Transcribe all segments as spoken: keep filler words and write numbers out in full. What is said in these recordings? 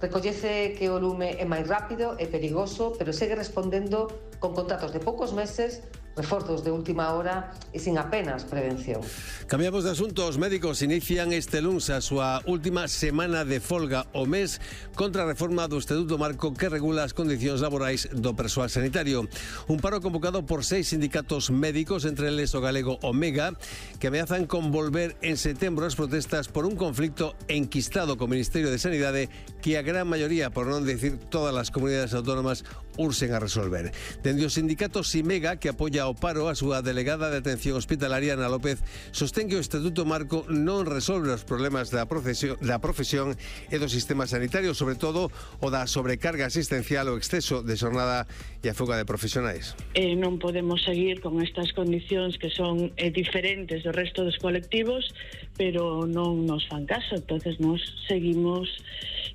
recoñece que o lume é máis rápido e perigoso, pero segue respondendo con contratos de poucos meses, reforzos de última hora e sin apenas prevención. Cambiamos de asunto. Os médicos inician este luns a súa última semana de folga o mes contra a reforma do Estatuto Marco que regula as condicións laborais do persoal sanitario. Un paro convocado por seis sindicatos médicos, entre eles o galego Omega, que ameazan con volver en setembro as protestas por un conflicto enquistado co Ministerio de Sanidade que a gran maioría, por non decir todas as comunidades autónomas, urxen a resolver. Dende o sindicato Simega, que apoia ao paro, a súa delegada de atención hospitalaria, Ana López, sostén que o Estatuto Marco non resolve os problemas da profesión, da profesión e do sistema sanitario, sobre todo o da sobrecarga asistencial, o exceso de xornada e a fuga de profesionais. Eh, non podemos seguir con estas condicións que son eh, diferentes do resto dos colectivos, pero non nos fan caso. Entonces nos seguimos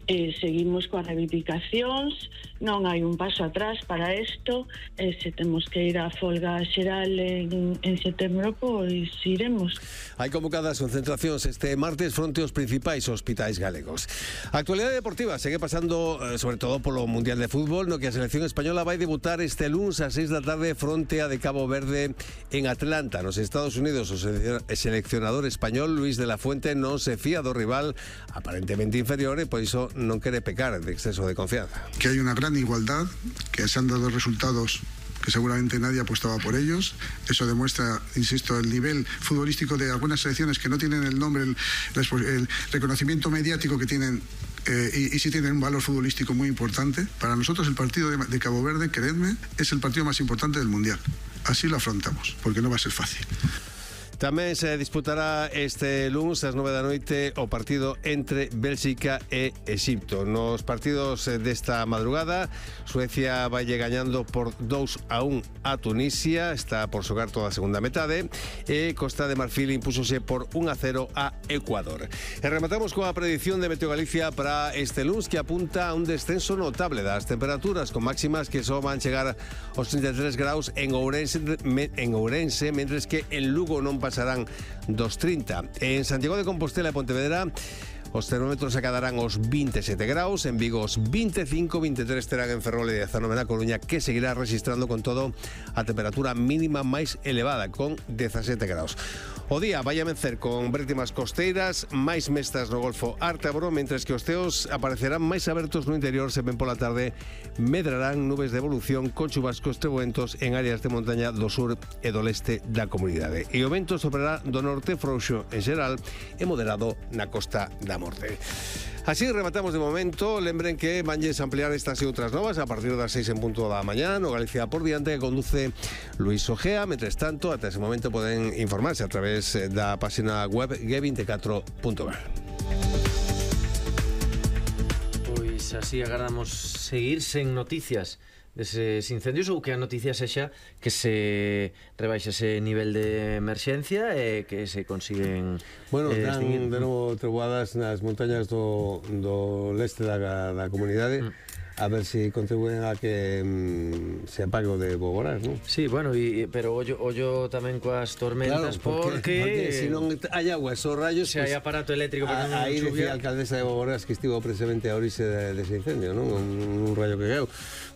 eh, seguimos coas reivindicacións, non hai un paso atrás para isto, e se temos que ir á folga xeral en, en setembro, pois iremos. Hai convocadas concentracións este martes fronte aos principais hospitais galegos. A actualidade deportiva segue pasando sobre todo polo Mundial de Fútbol, no que a selección española vai debutar este luns ás seis da tarde fronte a de Cabo Verde en Atlanta, nos Estados Unidos. O seleccionador español Luis de la Fuente non se fía do rival aparentemente inferior e por iso non quere pecar de exceso de confianza. Que hay una gran igualdad, que se han dado resultados que seguramente nadie apostaba por ellos. Eso demuestra, insisto, el nivel futbolístico de algunas selecciones que no tienen el nombre, el, el reconocimiento mediático que tienen, eh, y, y sí tienen un valor futbolístico muy importante. Para nosotros el partido de, de Cabo Verde, creedme, es el partido más importante del Mundial. Así lo afrontamos, porque no va a ser fácil. Tamén se disputará este luns ás nove da noite o partido entre Bélxica e Exipto. Nos partidos desta madrugada, Suecia vai gañando por dous a un a Tunisia, está por xogar toda a segunda metade, e Costa de Marfil impúxose por un a cero a Ecuador. E rematamos coa predición de Meteo Galicia para este luns, que apunta a un descenso notable das temperaturas, con máximas que só van chegar aos trinta e tres graus en Ourense, en Ourense, mentres que en Lugo non pasarán dos trinta. En Santiago de Compostela e Pontevedra os termómetros acadarán os vinte e sete graus, en Vigo os vinte e cinco, vinte e tres terán en Ferrol e dezanove na Coruña, que seguirá registrando con todo a temperatura mínima máis elevada, con dezasete graus. O día vai a vencer con brétimas costeiras, máis mestas no Golfo Ártabro, mentres que os ceos aparecerán máis abertos no interior, se ven pola tarde medrarán nubes de evolución con chubascos trebuentos en áreas de montaña do sur e do leste da comunidade. E o vento soprará do norte frouxo en xeral e moderado na costa da Morte. Así rematamos de momento. Lembren que vanlles ampliar estas e outras novas a partir das seis en punto da mañá no Galicia por diante, que conduce Luis Ojea. Mentres tanto, ata ese momento poden informarse a través da página web ge vinte e catro punto gal. Pois así agardamos seguir sen noticias deses incendios, ou que a noticia sexa que se rebaixa ese nivel de emerxencia e que se consiguen bueno, eh, dan extinguir. de novo treboadas nas montañas do, do leste da, da comunidade, mm. a ver se si contribuen a que mm, se apague o de Boborás, non? Sí, bueno, y, pero ollo, ollo tamén coas tormentas, claro, porque, porque, porque se non hai agua, esos rayos, se pues, hai aparato eléctrico para non aí chuvia. Decía a alcaldesa de Boborás que estivo precisamente a orixe dese de incendio, non? Un, un rayo que caeu.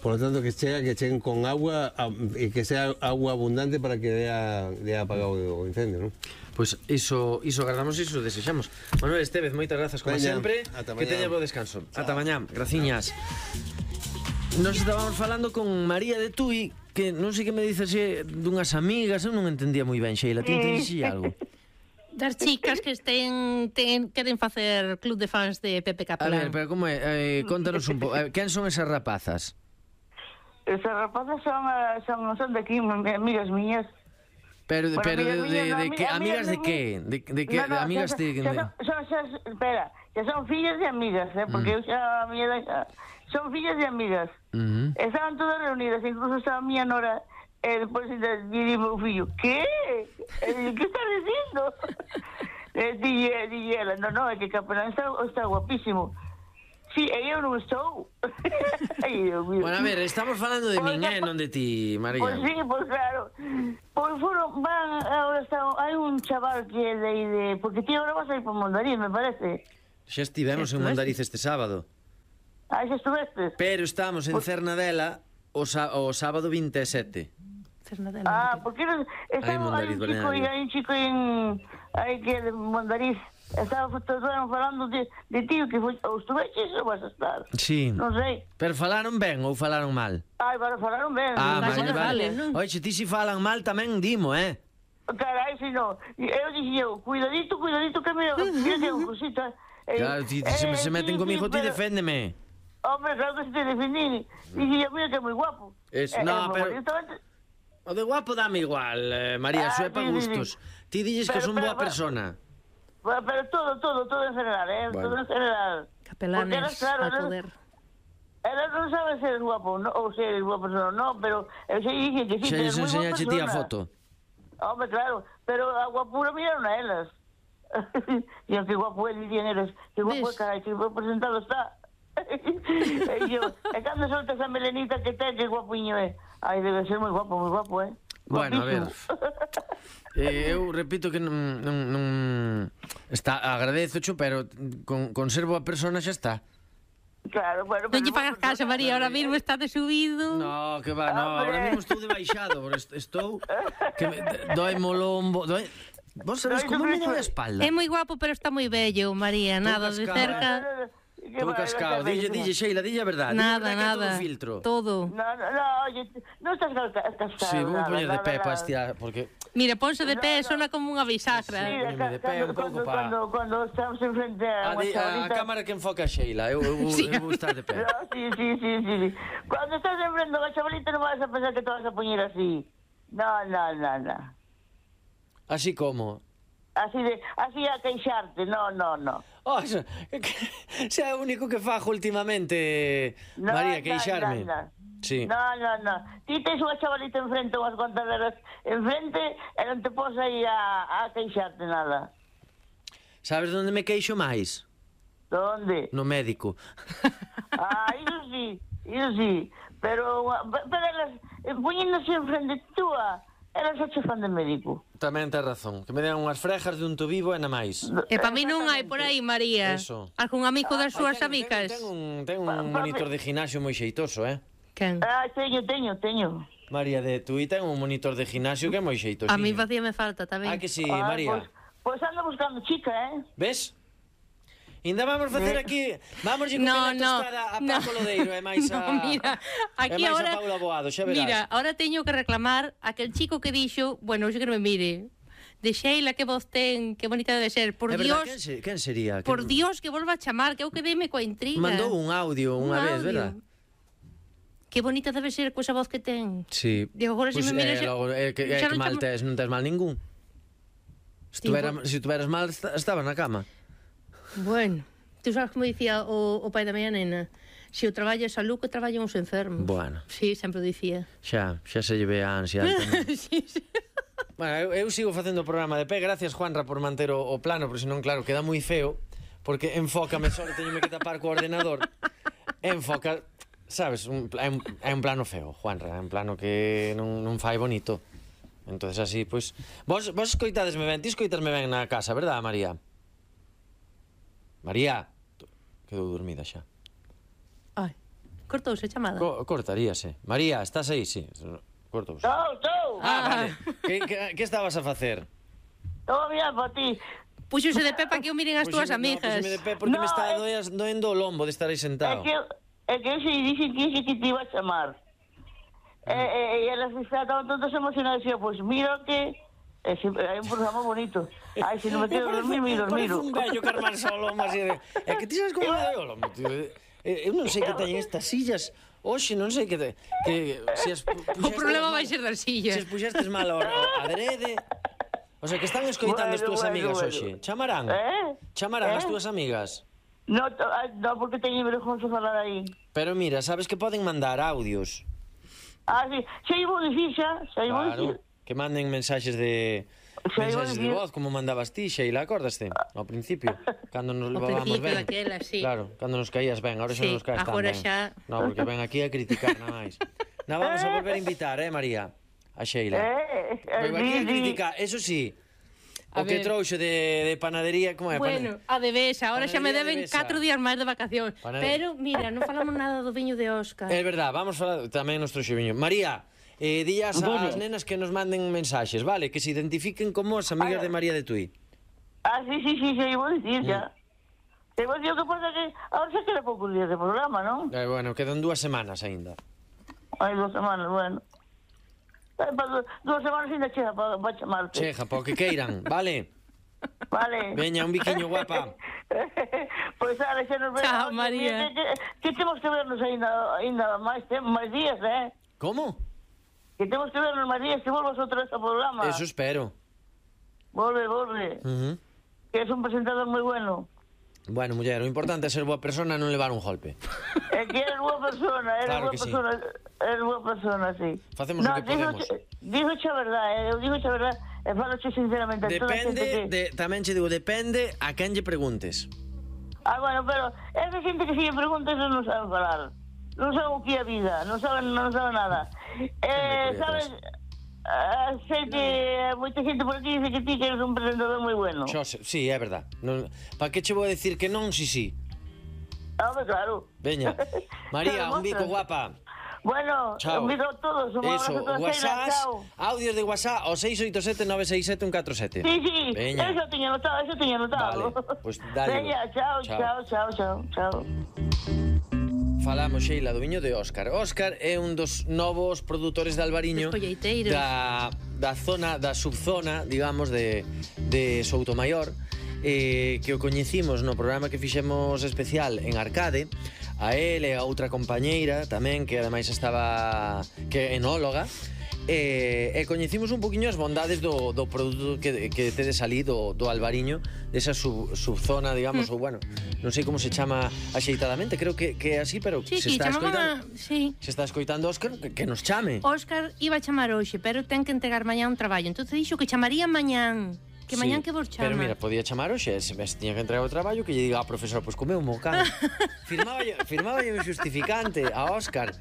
Por lo tanto, que chega, que cheguen con agua e que sea agua abundante para que dea, dea apagado o incendio, non? Pois pues iso, iso agardamos, iso desexamos. Manuel Estévez, moitas grazas como Veña, sempre. Que teña bo descanso. Chao. Ata mañá, graciñas. Nos estábamos falando con María de Tui, que non sei que me dices dunhas amigas, eu non entendía moi ben, Sheila, ti entendiste algo? Das chicas que estén ten, queren facer club de fans de Pepe Capelán. A ver, pero como é? Eh, contanos un pouco. Eh, quen son esas rapazas? Esas rapazas son, son, son de aquí, amigas mías. Pero, bueno, pero amigas de, mías, de, no, de, amigas, que, amigas de amigas, qué? De, de que, no, no, de amigas xa, de... xa, son, son, xa, espera, que son fillas de amigas, eh, porque mm. eu xa, a miña edad xa, son fillas de amigas. Uh-huh. Estaban todas reunidas, incluso estaba a miña nora, e depois dije meu fillo, que? Que estás dicindo? E dije, dije ela, no, no, é que Capelán está, está guapísimo. Sí, e eu non estou. Ai, Dios mío. Bueno, a ver, estamos falando de min, eh, non de ti, María. Pois pues sí, pois pues claro. Pois pues foron, van, ahora está, hai un chaval que é de aí de... Porque ti agora vas a ir por Mondariz, me parece. Xa estivemos en Mondariz este sábado. Ah, xa estuvestes? Pero estamos en Cernadela o, sa o sábado vinte e sete. Cernadela. Ah, porque eres, Aí, estaba Mondariz, aí un chico, balneario. aí un chico en... Aí que é de Mondariz. Estaba estaban falando de, de ti, que foi, ou estuveches ou vas a estar? Sí. Non sei. Pero falaron ben ou falaron mal? Ai, para falaron ben. Ah, Vai vale, que vale. falen, non? Oxe, ti si falan mal tamén dimo, eh? Carai, si non. Eu dixi eu, cuidadito, cuidadito, que me... Mira que é un cosita. Eh, Claro, ti, ti se, eh, se meten sí, comigo, sí, ti pero- deféndeme. Hombre, claro que se te defendí. Dixi eu, mira que é moi guapo. Es- Eh, no, eh, pero- justamente- O de guapo dame igual, eh, María, Ah, eso é pa sí, sí, sí. gustos. Ti dilles que Pero, son pero, boa pero- persona. Bueno, pero todo, todo, todo en general, ¿eh? Bueno. Todo en general. Porque Capelanes eras, claro, al eras- poder. Ela non sabe ser guapo, no, ou ser boa persona, no, pero eu sei dixen que sí, Xa que lles é moi boa enseñache ti a persona. foto. Hombre, claro, pero a guapura miraron a elas. E que guapo é, dirían eles, que guapo é, Ves? carai, que buen presentado está. E yo, e cando solta esa melenita que ten, que guapiño é. Ai, debe ser moi guapo, moi guapo, eh. Bueno, a ver. Guapísimo. Eh, eu repito que non, non, non está, agradezocho, pero con, con ser boa persona xa está. Claro, bueno, Non lle boa fagas caso, persona. María, ahora mismo está de subido. No, que va, no, Hombre. ahora mismo estou de baixado, porque est- estou que me, doe mo lombo, doe... Vos sabes Doe como me sobre- doe a espalda? É moi guapo, pero está moi bello, María, nada de cascado. cerca. Que Estou va, cascado, vai, dille, vai, dille, Sheila, dille a verdade. dille a Nada, verdade que é nada. todo filtro. Todo. No, no, no, oye, no estás cascado. Sí, vou nada, poñer de nada, pé para nada. estirar, porque... Mira, ponse de pé, No, no. sona como unha bisagra. Sí, Póñeme de pé un cuando, pouco cuando, pa- cuando, cuando estamos enfrente A, a unha di- a, a chavalita... cámara que enfoca a Sheila, eu, eu, Sí. eu vou estar de pé. No, sí, sí, sí, sí, sí. Cuando estás enfrente a unha chavalita non vas a pensar que te vas a poñer así. No, no, no, no. Así como... Así de, así a queixarte, no, no, no. Oh, xa, xa é o único que fajo últimamente, No, María, no, queixarme. no, no. Sí. No, no, no. Ti tens unha chavalita enfrente, unhas cuantas delas enfrente, e non te pos aí a, a queixarte nada. Sabes onde me queixo máis? Donde? No médico. Ah, iso sí, iso sí. Pero, pero elas, eh, poñéndose enfrente túa, elas xa che fan de médico. Tamén tes razón, que me den unhas frejas de un tobivo e na máis. E para mí non hai por aí, María. Eso. Algún amigo das súas Ten- amigas? Ten, ten un, ten un monitor de gimnasio moi xeitoso, eh? Quen? Ah, teño, teño, teño. María de Tui ten un monitor de gimnasio que é moi xeitoso. A mí facíame falta tamén. Ah, que sí, Ah, María. Pois pues, pues anda buscando chica, eh? Ves? Ainda vamos facer aquí, vamos ir No, comer a no, tostada a no. Paco Lodeiro e máis a... No, mira, aquí e máis ahora... a Paula Boado, xa verás. Mira, ahora teño que reclamar a aquel chico que dixo, bueno, xe que non me mire, de Sheila, que voz ten, que bonita debe ser, por É verdad, Dios, quen, se, quen sería? por Quen- Dios que volva a chamar, que eu quedeme coa intriga. Mandou un audio Un unha vez, audio. verdad? Que bonita debe ser coa esa voz que ten. Sí. Digo, agora se Pois, me mira eh, xa- logo, eh, que, eh, xa que non mal chamo- tes, non tes mal ningún. Se Tipo- tuvera, se tuveras mal, esta- estaba na cama. Bueno, tú sabes como dicía o, o pai da miña nena, se o traballa a salud, que traballan os enfermos. Bueno. Sí, sempre o dicía. Xa, xa se lleve a ansia alta. non? Sí, sí. Bueno, eu, eu sigo facendo o programa de pé. Gracias, Juanra, por manter o, o plano, porque senón, claro, queda moi feo, porque enfócame só que teño que tapar co ordenador. Enfoca, sabes, un, é, un, é un plano feo, Juanra, é un plano que non, non fai bonito. Entonces así, pois... Vos, vos escoitadesme ben, ti escoitasme ben na casa, verdad, María? María, quedou dormida xa. Ai, cortouse a chamada. Co cortaríase. María, estás aí? Sí, cortouse. Estou, estou. Ah, vale. Que, que, que estabas a facer? Estou a mirar para ti. Puxose de pé para que o miren as túas Puxeme- no, amigas. puxeme de pé porque No, me está é- doendo, doendo o lombo de estar aí É sentado. que, é que eu se dixen que ese que te iba a chamar. E, e, e elas estaban todas emocionadas e eu, pois, mira que... É, se, é un programa bonito. Ai, se non me quedo dormir, miro, Parece miro. un vello carmar só o lombo así de... É que ti sabes como me doi o lombo, tío. Eh, Eu non sei que teñen estas sillas. Oxe, non sei que... Te, que se as pu- O puxestes problema mal- vai ser das Se sillas. as puxestes mal a adrede... O sea, que están escoitando as Bueno, túas bueno, amigas bueno. hoxe. Chamarán? Eh? Chamarán as Eh? túas amigas? No, to- ah, no, porque teño vergonza falar aí. Pero mira, sabes que poden mandar audios. Ah, sí, xa ibo dicir xa, xa ibo dicir. Claro, que manden mensaxes de Xa iba a mensaxes de dicir. voz como mandabas ti, Sheila, acordaste? Ao principio, cando nos levábamos principio ben. daquela, sí. Claro, cando nos caías ben, ahora xa Sí, non nos caes tan agora ben. xa- No, porque ven aquí a criticar nada máis. Na vamos a volver a invitar, eh, María, a Sheila. Eh, eh, Vengo aquí a sí, sí. criticar, eso sí. O que trouxo de, de panadería, como é? Bueno, a de Besa, ahora xa me deben catro días máis de vacación. Panade... Pero, mira, non falamos nada do viño de Óscar. É verdad, vamos falar tamén nos trouxo viño. María, eh, días ás nenas que nos manden mensaxes, vale? Que se identifiquen como as amigas de María de Tui. Ah, sí, sí, sí, sí, vou dicir xa. Te vou dicir o que pasa que ahora xa queda poucos días de programa, non? Eh, bueno, quedan dúas semanas aínda. Hai dúas semanas, bueno. Dúas semanas ainda chega para pa chamarte. Chega, para o que queiran, vale? Vale. Veña, un biquiño guapa. Pois, pues, ale, xa nos vemos. Chao, María. Que, que, que temos que vernos ainda, ainda máis, máis días, eh? Como? Que temos que vernos máis días, que volvas outra vez ao programa. Eso espero. Volve, volve. Uh -huh. Que es un presentador moi bueno. Bueno, muller, o importante é ser boa persona e non levar un golpe. É que eres boa persona, eres claro boa persona, sí. Eres boa persona, sí. Facemos no, o que podemos. Digo xa verdad, eh, eu digo xa verdad, e falo xe sinceramente. Depende, que... de, tamén che digo, depende a quen lle preguntes. Ah, bueno, pero esa xente que se lle preguntes non sabe falar. Non sabe o que é a vida, non sabe, non sabe nada. Eh, sabes... Uh, sei que moita xente por aquí dice que ti que eres un presentador moi bueno. Xo, sí, é verdad. Non, pa que che vou decir que non, si, si. Ah, pues claro. Veña. María, un bico guapa. Bueno, chao. Un bico a todos. Un eso, WhatsApp, audios de WhatsApp ao seis oito sete nove seis sete un catro sete. Sí, sí, veña. Eso tiña notado, eso tiña notado. Vale, pues dale. Veña, chao, chao, chao, chao, chao. Falamos, Sheila, do viño de Óscar. Óscar é un dos novos produtores de Albariño da, da zona, da subzona, digamos, de, de Soutomaior, eh, que o coñecimos no programa que fixemos especial en Arcade, a él e a outra compañeira tamén, que ademais estaba, que é enóloga, e, e coñecimos un poquinho as bondades do, do produto que, que tedes ali do, do Albariño, desa sub, subzona, digamos, mm. ou bueno, non sei como se chama axeitadamente, creo que, que é así, pero sí, se está escoitando, sí. se está escoitando Óscar, que, que nos chame. Óscar iba a chamar hoxe, pero ten que entregar mañán un traballo, entonces dixo que chamaría mañán. Que mañán sí, que vos chama. Pero mira, podía chamar hoxe, se se tiña que entregar o traballo, que lle diga, ah, profesor, pois pues comeu un mocán. firmaba, firmaba un justificante a Óscar.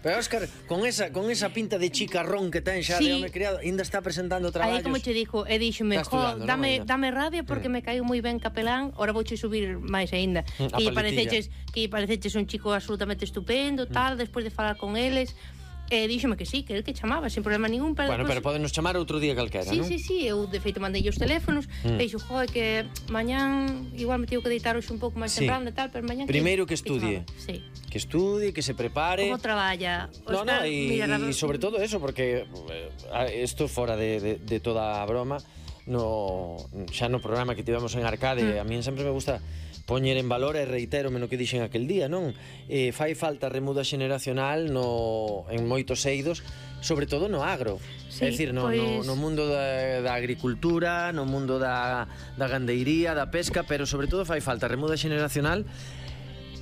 Pero Óscar, con esa, con esa pinta de chicarrón que ten xa sí. de home criado, ainda está presentando traballos. Aí como che dixo, e díxome, jo, dame, no, dame rabia porque mm. me caiu moi ben Capelán, ora vouche subir máis aínda. Mm, que pareceches, que pareceches un chico absolutamente estupendo, tal, mm. despois de falar con eles. E díxome que sí, que el que chamaba, sin problema ningún. Pero bueno, después... pero podenos chamar outro día calquera, sí, non? Sí, sí, sí, eu de feito mandei os teléfonos, mm. e dixo, joe, que mañán igual me tivo que deitar hoxe un pouco máis sí. temprano e tal, pero mañán... Primeiro que, que estudie. Que, sí. que estudie, que se prepare. Como traballa. No, no, e sobre todo eso, porque isto fora de, de, de toda a broma, no, xa no programa que tivemos en Arcade, mm. a mí sempre me gusta poñer en valor e reitérome no que dixen aquel día, non? Eh, fai falta remuda xeneracional no, en moitos eidos, sobre todo no agro. Sí, é dicir, no, pues... no, no mundo da, da agricultura, no mundo da, da gandeiría, da pesca, pero sobre todo fai falta remuda xeneracional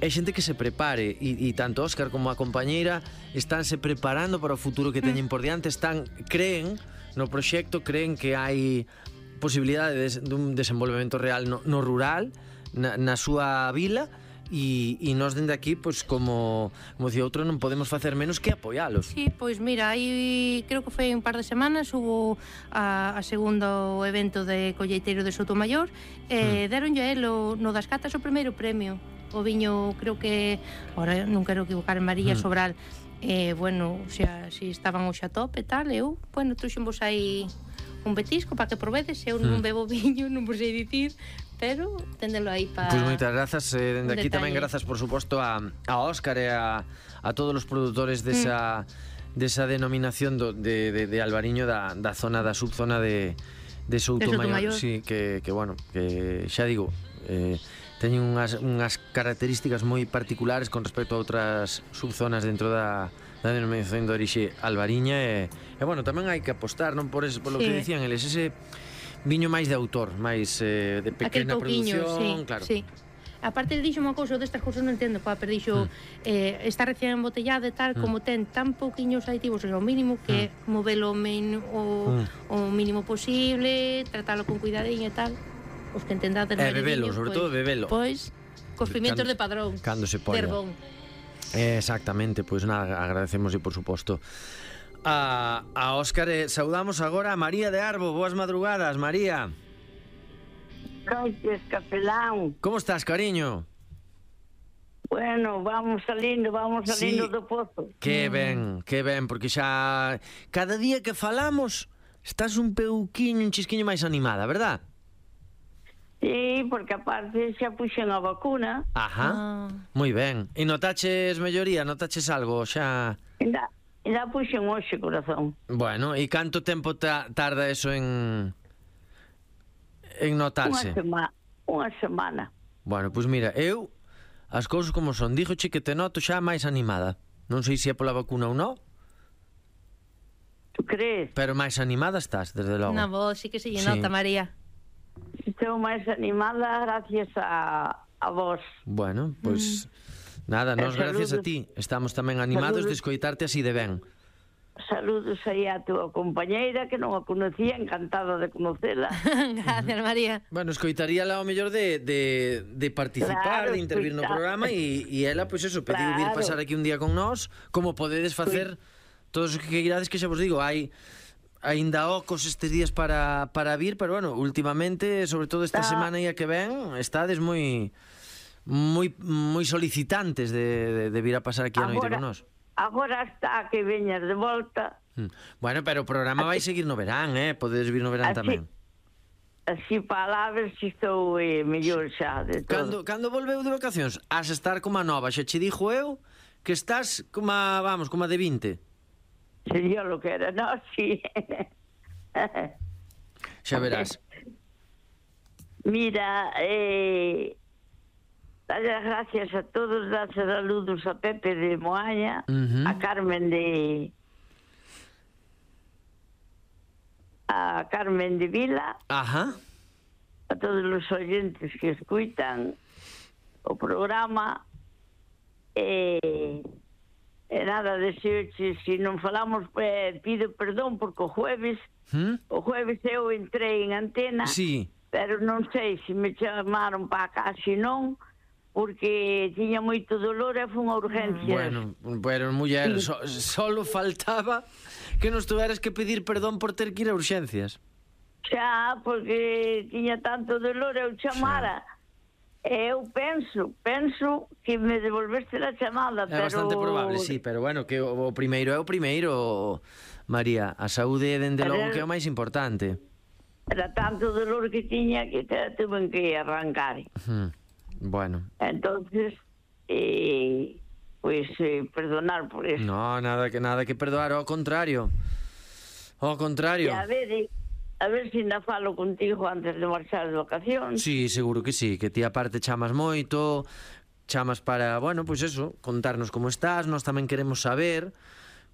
e xente que se prepare e, e tanto Óscar como a compañeira estánse preparando para o futuro que teñen por diante, están, creen no proxecto, creen que hai posibilidade de, de un desenvolvemento real no, no rural, na, na súa vila, e, e nós dende aquí, pois, como, como dicía outro, non podemos facer menos que apoialos. Sí, pois mira, aí creo que foi un par de semanas hubo a, a segundo evento de colleiteiro de Soutomaior e mm. deronlle a él o, no das catas o primeiro premio, o viño, creo que ahora non quero equivocar en María mm. Sobral, e, bueno, xa, si estaban hoxe a top e tal, eu, bueno, trouxenvos aí un betisco para que provedes, eu non mm. bebo viño, non vos sei dicir, pero tendelo aí para... Pois pues moitas grazas, eh, dende aquí detalle. Tamén grazas, por suposto, a, a Óscar e a, a todos os produtores desa, mm. desa denominación do, de, de, de Albariño da, da zona, da subzona de, de Soutomaior, sí, que, que, bueno, que xa digo, eh, teñen unhas, unhas características moi particulares con respecto a outras subzonas dentro da, da denominación de orixe albariña e, e bueno, tamén hai que apostar, non por, es, por lo sí. que dicían eles, ese viño máis de autor, máis eh, de pequena pouquiño, producción, sí, claro. Sí. Aparte ele dixo unha cousa, destas cousas non entendo, pa, pero dixo mm. eh, está recién embotellada e tal, mm. como ten tan pouquiños aditivos, o mínimo que mm. movelo men, o, mm. o mínimo posible, tratalo con cuidadiño e tal. Os que entendades eh, bebelo, viño, sobre pues, todo bebelo. Pois, cos pimientos de padrón. Cando se poña. Eh, exactamente, pois pues, nada, agradecemos e por suposto a, a Óscar, eh, saudamos agora a María de Arbo. Boas madrugadas, María. noches, capelán. Como estás, cariño? Bueno, vamos salindo, vamos salindo Sí. do pozo. Que ben, que ben, porque xa cada día que falamos estás un peuquiño, un chisquiño máis animada, verdad? Sí, porque aparte xa puxen a vacuna. Ajá, Ah. moi ben. E notaches melloría, notaches algo xa... Ainda, ainda puxen hoxe, corazón. Bueno, e canto tempo ta tarda eso en... en Unha notarse? semana. Unha semana. Bueno, pois mira, eu as cousas como son, dígoche que te noto xa máis animada. Non sei se é pola vacuna ou non, Tu crees? pero máis animada estás, desde logo. Na voz sí que se lle Sí. nota, María. Estou máis animada gracias a, a vos. Bueno, pois nada, E nos gracias a saludos. ti estamos tamén animados de Saludos. escoitarte así de ben. Saludos aí a túa compañeira, que non a conocía, encantada de conocela. Gracias, María. Bueno, escoitaríala ao mellor de, de, de participar, Claro, de intervir no escoitar. programa e, e ela, pois eso, pediu vir Claro. pasar aquí un día con nós, como podedes facer todos os que irades, que xa vos digo, hai aínda ocos estes días para, para vir, pero bueno, últimamente, sobre todo esta Tá. semana e a que ven, estades moi moi moi solicitantes de, de, de vir a pasar aquí a noite Agora- con nós. Agora está que veñas de volta. Mm. Bueno, pero o programa vai seguir no verán, eh? Podedes vir no verán Así- tamén. Así para lá ver se estou eh, mellor xa de Cando, todo. cando volveu de vacacións, has estar como a nova, xa che dixo eu que estás como a, vamos, como a de vinte. Sería lo que era, no, sí. Xa verás. Mira, eh, darle las gracias a todos, dar saludos a Pepe de Moaña, Ujú. a Carmen de... a Carmen de Vila, Ajá. a todos los oyentes que escuitan o programa. Eh, e nada, deseoche, se non falamos, eh, pido perdón porque o jueves, ¿Mm? o jueves eu entrei en antena, Sí. pero non sei se me chamaron para cá, se non, porque tiña moito dolor e fun a urgencias. Bueno, pero muller, so, solo faltaba que nos tuveras que pedir perdón por ter que ir a urxencias. Xa, porque tiña tanto dolor, eu chamara. E eu penso, penso que me devolveste a chamada, É pero... bastante probable, sí, pero bueno, que o, o primeiro é o primeiro, María. A saúde é, dende Pero logo, el- que é o máis importante. Era tanto dolor que tiña que te tuve que arrancar. Hmm. Bueno, Entonces, eh, pues eh, perdonar por eso. no, nada que nada que perdoar, ao contrario. Ao E contrario. a ver, eh, a ver se ainda falo contigo antes de marchar de vacacións. Sí, seguro que sí, que ti aparte chamas moito, chamas para, bueno, pois pues eso, contarnos como estás, nós tamén queremos saber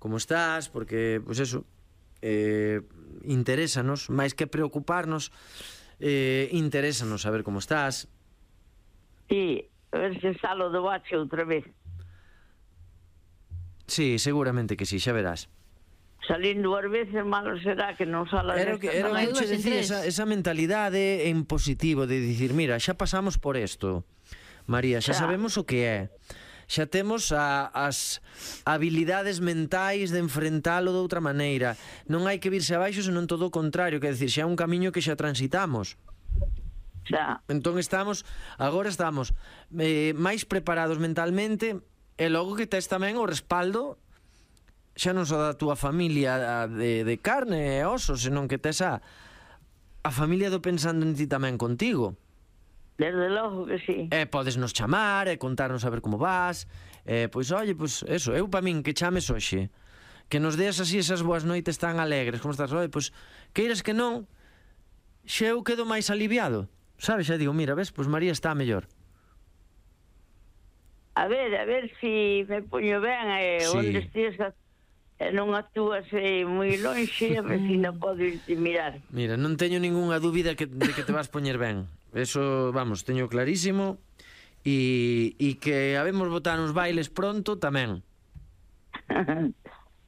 como estás, porque, pois pues eso, eh, interésanos, máis que preocuparnos, eh, interésanos saber como estás. Sí, a ver se salo do bache outra vez. Sí, seguramente que sí, xa verás. Salindo as veces, malo será que non sala Era o que, era o non hai que che dúas en decía, tres. esa, esa mentalidade en positivo de dicir, mira, xa pasamos por isto, María, xa Xa. sabemos o que é, xa temos a, as habilidades mentais de enfrentalo de outra maneira, non hai que virse abaixo, senón todo o contrario, que decir, xa é un camiño que xa transitamos. xa. Entón estamos, agora estamos eh, máis preparados mentalmente, e logo que tes tamén o respaldo xa non só da túa familia de, de carne e oso, senón que tes a, a familia do pensando en ti tamén contigo. Desde logo que sí. E podes nos chamar e contarnos a ver como vas. E, pois, oye, pois, eso, eu pa min que chames hoxe, que nos deas así esas boas noites tan alegres, como estás, oye, pois, queiras que non, xa eu quedo máis aliviado. Sabes, xa digo, mira, ves, pois María está mellor. A ver, a ver si me poño ben e Sí. onde estés a, e non actúas eh, moi lonxe, a ver si non podo irte mirar. Mira, non teño ningunha dúbida que, de que te vas poñer ben. Eso, vamos, teño clarísimo. E, e que habemos botar uns bailes pronto tamén.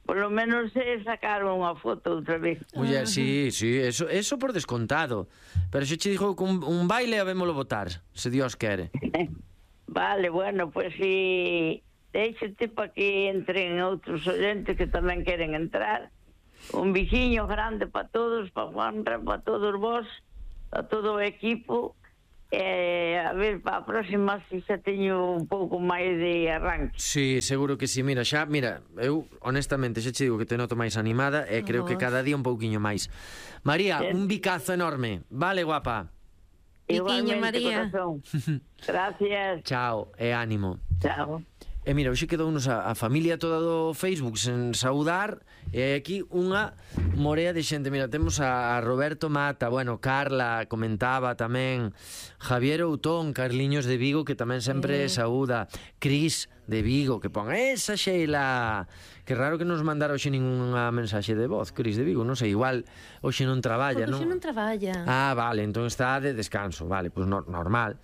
Por lo menos eh, sacar unha foto outra vez. Muller, sí, sí, eso, eso por descontado. Pero xe che dixo que un, un baile habémolo botar, se Dios quere. Vale, bueno, pues si déixate para que entren outros oyentes que tamén queren entrar. Un bixiño grande para todos, para Juanra, para todos vos, a todo o equipo, Eh, a ver, para a próxima si xa teño un pouco máis de arranque. Sí, seguro que sí. Mira, xa, mira, eu honestamente xa che digo que te noto máis animada e creo que cada día un pouquiño máis. María, Sí. un bicazo enorme. Vale, guapa. Biquiño, María. Corazón. Gracias. Chao e ánimo. Chao. E mira, hoxe quedounos a, a familia toda do Facebook sen saudar. E hai aquí unha morea de xente. Mira, temos a, a Roberto Mata, bueno, Carla comentaba tamén, Javier Outón, Carliños de Vigo, que tamén sempre Mm. saúda, Cris de Vigo, que pon esa Sheila. Que raro que nos mandara hoxe ninguna mensaxe de voz, Cris de Vigo, non sei, igual hoxe non traballa, Porque non? hoxe non traballa. Ah, vale, entón está de descanso, vale, pois pues no, normal.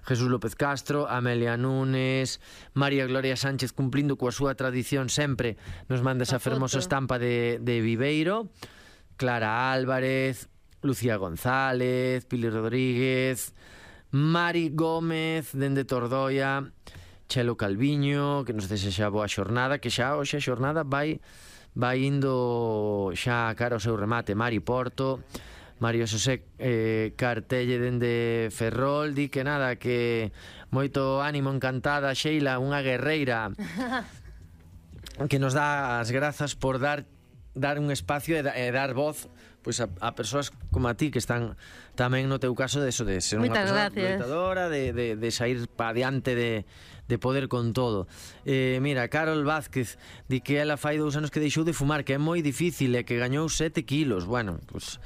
Jesús López Castro, Amelia Núñez, María Gloria Sánchez cumplindo coa súa tradición sempre, nos manda esa A fermosa foto. estampa de, de Viveiro, Clara Álvarez, Lucía González, Pili Rodríguez, Mari Gómez, dende Tordoia, Chelo Calviño, que nos desexa boa xornada, que xa hoxe a xornada vai vai indo xa cara ao seu remate. Mari Porto, Mario Xosé eh, Cartelle dende Ferrol, di que nada, que moito ánimo, encantada, Sheila, unha guerreira que nos dá as grazas por dar dar un espacio e, da, e dar voz pois a, a persoas como a ti que están tamén no teu caso de eso, de ser unha Moitas persoa gracias. loitadora, de, de, de sair para adiante, de, de poder con todo. Eh, mira, Carol Vázquez di que ela fai dous anos que deixou de fumar, que é moi difícil e que gañou sete kilos. Bueno, pues,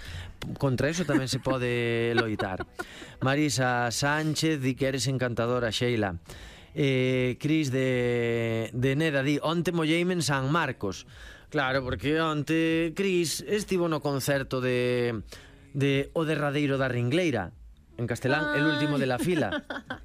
contra eso tamén se pode loitar. Marisa Sánchez di que eres encantadora, Sheila. Eh, Cris de, de Neda di, onte molleime en San Marcos. Claro, porque onte Cris estivo no concerto de, de O Derradeiro da Ringleira, en castelán, el último de la fila. No,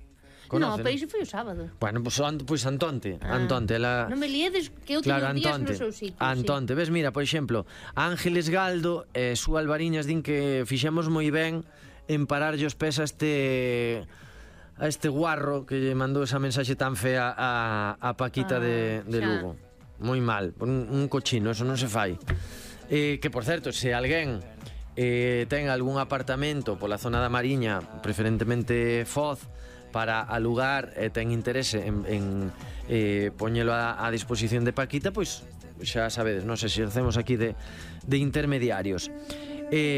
Conoce, pero iso foi o sábado. Bueno, pois pues, pues Antonte, Ah. Antonte, ela... Non me liedes que eu Claro, teño días Antonte, no seu sitio. Antonte, ves, mira, por exemplo, Ángeles Galdo e Su Alvariñas din que fixemos moi ben en pararlle os pés a este a este guarro que lle mandou esa mensaxe tan fea a, a Paquita Ah, de, de xa. Lugo. Moi mal, un, un cochino, eso non se fai. Eh, que, por certo, se alguén eh, ten algún apartamento pola zona da Mariña, preferentemente Foz, para alugar e ten interese en, en eh, poñelo a, a disposición de Paquita, pois xa sabedes, non sei se hacemos aquí de, de intermediarios.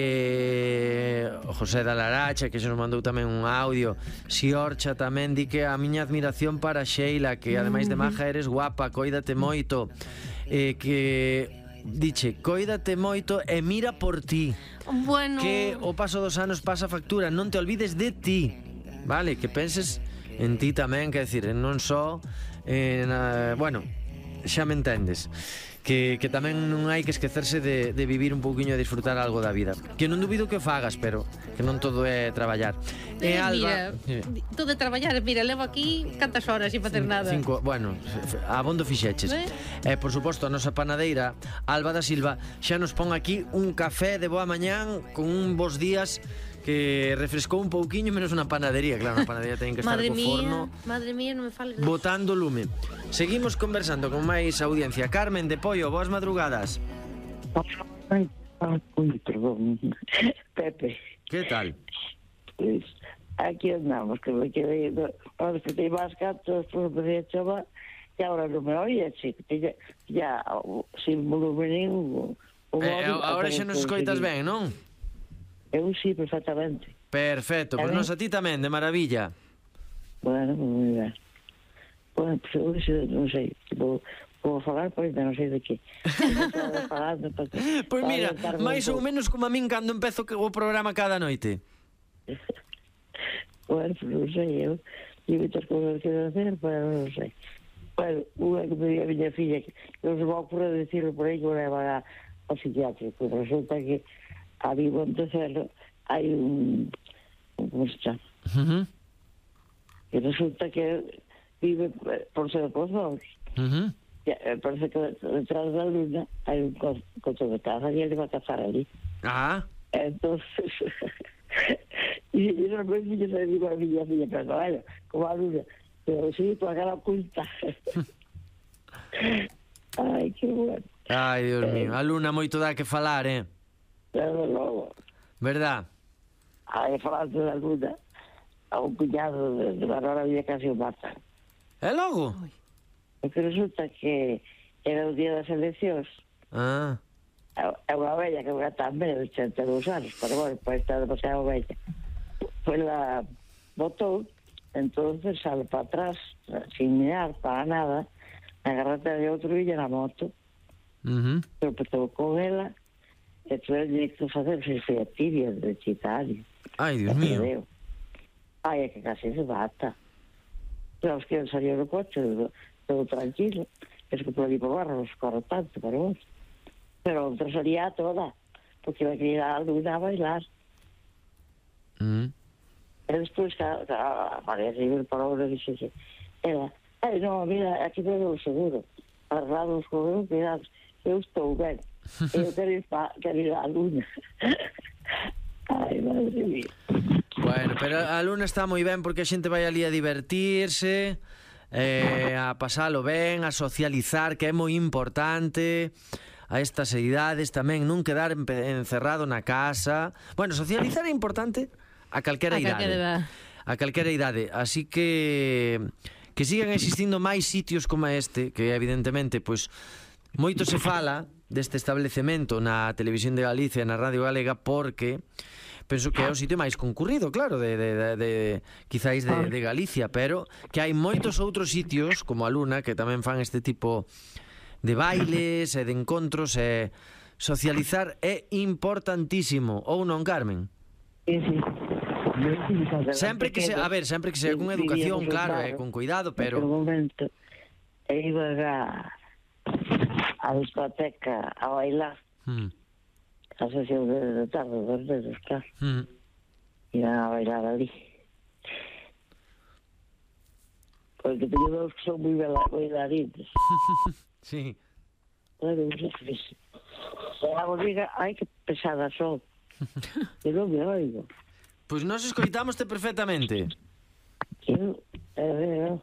eh, José da Laracha, que se nos mandou tamén un audio. Siorcha tamén di que a miña admiración para Sheila, que ademais de maja eres guapa, coídate moito, eh, que diche, coídate moito e mira por ti, Bueno, que o paso dos anos pasa factura, non te olvides de ti, vale, que penses en ti tamén, que decir, non só en, uh, bueno, xa me entendes, que, que tamén non hai que esquecerse de, de vivir un pouquiño e disfrutar algo da vida, que non dubido que o fagas, pero que non todo é traballar. E eh, Alba, mira, todo de traballar, mira, levo aquí cantas horas sin facer nada. Cinco, bueno, abondo fixeches. Eh? E, por suposto, a nosa panadeira, Alba da Silva, xa nos pon aquí un café de boa mañán con un bons días que refrescou un pouquiño, menos unha panadería. Claro, unha panadería ten que estar Madre co mía, forno madre mía, non me fales. botando lume. Seguimos conversando con máis audiencia. Carmen de Pollo, boas madrugadas. Ai, uy, perdón. Pepe, Que tal? pues, aquí andamos, que me quedé, ahora que te ibas gatos, pues me decía chaval, y ahora no me oye, sí, que ya, ya, sin volumen ningún. o Eh, móvil, agora xa aparece nos o escoitas que- ben, non? Eu sí, perfectamente. Perfecto, pois A ver. nos a ti tamén, de maravilla. Bueno, pues moi ben. Bueno, pues eu xe, non sei, vou, vou falar, pois non sei de que. Falando, para que- Pois para mira, orientarme un máis ou pouco. menos como a min cando empezo que- o programa cada noite. Bueno, pues non sei, eu e moitas cousas que hacer, pero non sei. Bueno, unha que me diga a miña filla que non se va a ocurrir decirlo por aí que o leva ao psiquiátrico. Resulta que a mi Montecelo hai un, un como se chama? Uh -huh. Que resulta que vive por ser pozos. Uh -huh. Parece que detrás da luna hai un co- coto de caza e ele va a cazar ali. Ah, Entonces, y, y no me dice, le digo a mi filla, pero bueno, como a luna, pero sí, por acá la oculta. Ay, qué bueno. ai, Dios mío, a Luna moito dá que falar, eh? Desde logo, Verdad? hay falando de la luna. a un cuñado de, de Barora había casi o matan. E logo? Porque resulta que era o día das eleccións. Ah. É unha vella que vai tamén de ochenta e dous anos, pero bueno, pois está demasiado vella. Pois la botou, entonces sale para atrás, sin mirar para nada, na carretera de outro illa na moto. Uh -huh. Pero petou con ela, e tuve que facer se foi a tibia de titanio. Ai, Dios mío. Ai, é que casi se bata. Pero os que salió do coche, todo tranquilo. Es que por ali por barra nos corre tanto, pero vos. Pero outra salía toda, porque iba a querer a Luna a bailar. Mm. E despois, a María River parou e dixe, ela, ai, non, mira, aquí tengo o seguro. Arrados con eu, cuidado, eu estou ben. Eu quero ir, pa, quero ir a Luna. Ai, madre mía. Bueno, pero a Luna está moi ben porque a xente vai ali a divertirse, eh, a pasalo ben, a socializar, que é moi importante a estas idades tamén, non quedar encerrado na casa. Bueno, socializar é importante a calquera idade. A calquera idade. Así que que sigan existindo máis sitios como este, que evidentemente, pois, moito se fala deste establecemento na Televisión de Galicia, na Radio Galega, porque penso que é o sitio máis concurrido, claro, de, de, de, de quizáis de, de Galicia, pero que hai moitos outros sitios, como a Luna, que tamén fan este tipo de bailes e de encontros, e socializar é importantísimo, ou non, Carmen? Sí, sí. Sempre que se, a ver, sempre que sea con educación, claro, e con cuidado, pero en un momento iba a a discoteca a bailar. Hmm. A sesión de tarde, dos dedos, claro. Hmm. Iban a bailar ali. Porque teño dos que son moi bailarines. Sí. Claro, non sei. E a diga, ai, que pesadas son. Que non me oigo. Pois nós escoitámoste perfectamente. Eu, eu, eu.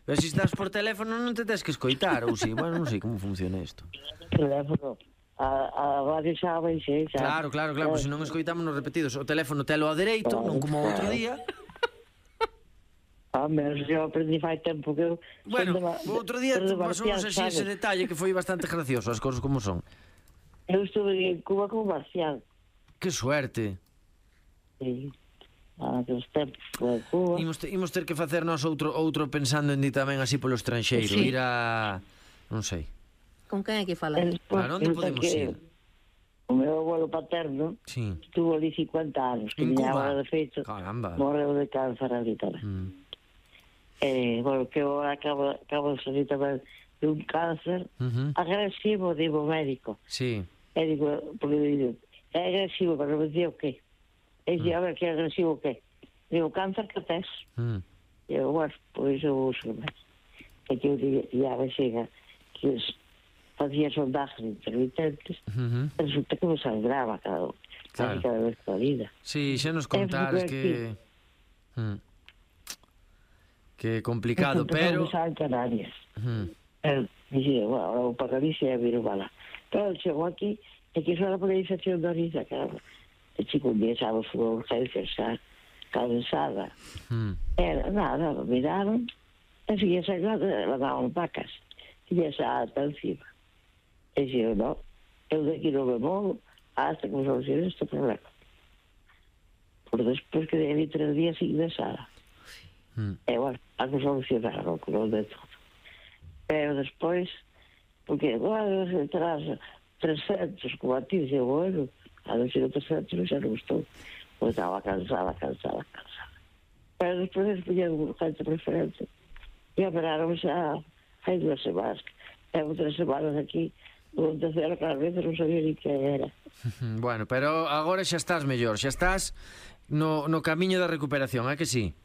Pero se estás por teléfono non te tens que escoitar, ou si, bueno, non sei como funciona isto. Teléfono. A, a radio sabe, sí, sabe. Claro, claro, claro, pois se non escoitamos nos repetidos. O teléfono telo ao dereito, non como outro día. Ah, menos eu aprendi fai tempo que eu... Bueno, o outro día pasamos así ese detalle que foi bastante gracioso, as cousas como son. Eu estuve en Cuba como marcial. Que suerte. Sí. Ah, que os tempos de Cuba. Imos, te, imos ter que facernos outro outro pensando en ti tamén así polo estranxeiro, sí. Ir a... non sei. Con quen hai que falar? Claro, onde podemos ir? O meu abuelo paterno sí. Estuvo ali cincuenta anos. En Cuba? De feito, caramba. Morreu de cáncer ali tamén. Mm. Eh, bueno, que eu acabo, acabo de salir tamén de un cáncer uh -huh. agresivo, digo, médico. Sí. E digo, porque digo, é agresivo, pero me dicía o qué? E dicía, mm. a ver, que é agresivo o qué? Digo, cáncer que tes? Mm. E eu, bueno, pois eu uso máis. E que eu diga, a vexiga, que facía sondajes intermitentes, uh -huh. resulta que me sangraba cada, claro. cada vez da vida. Sí, xa nos contares que... Mm. Que complicado, pero... Eu en Canarias. Uh -huh. El dixía, bueno, o para Galicia é Virubala. Pero chegou aquí, e que era por a infección da orina, claro. E chico un día sábado foi a urgencia, xa cansada. Uh -huh. Era nada, miraron, e seguía sangrando, la daban vacas. E xa ata encima. E dixo, no, eu daqui non me movo hasta que me solucione este problema. Por despois que de tres días ingresada. Mm. E, bueno, a que solucionaron con o de todo. Pero despois, porque, bueno, tras trescentos, como a ti, dixo, bueno, a non ser trescentos xa non gustou. Pois estaba cansada, cansada, cansada. Pero despois puñen un urgente preferente. E operaron xa hai duas semanas. Tengo tres semanas aquí, o terceiro cada vez non sabía ni que era. Bueno, pero agora xa estás mellor, xa estás no, no camiño da recuperación, é que sí?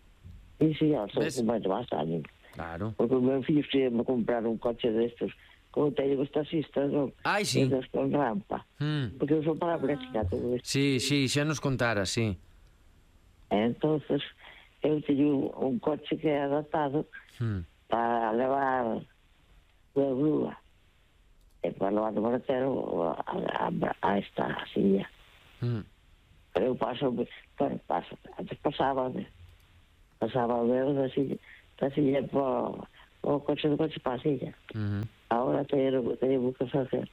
Sí, sí, xa estou con máis ánimo. Claro. Porque o meu fillo quería comprar un coche destes, como teño os taxistas, non? Ai, sí. Destes con rampa. Mm. Porque eu sou parapléjica todo isto. Sí, sí, xa nos contara, sí. Entonces, eu teño un coche que é adaptado mm. para levar de grúa e para levar do mortero a, a, a esta silla. Mm. Pero eu paso, bueno, paso, antes pasaba, pasaba o dedo da silla, da silla para o coche do coche para a silla. Uh -huh. Agora teño que facer.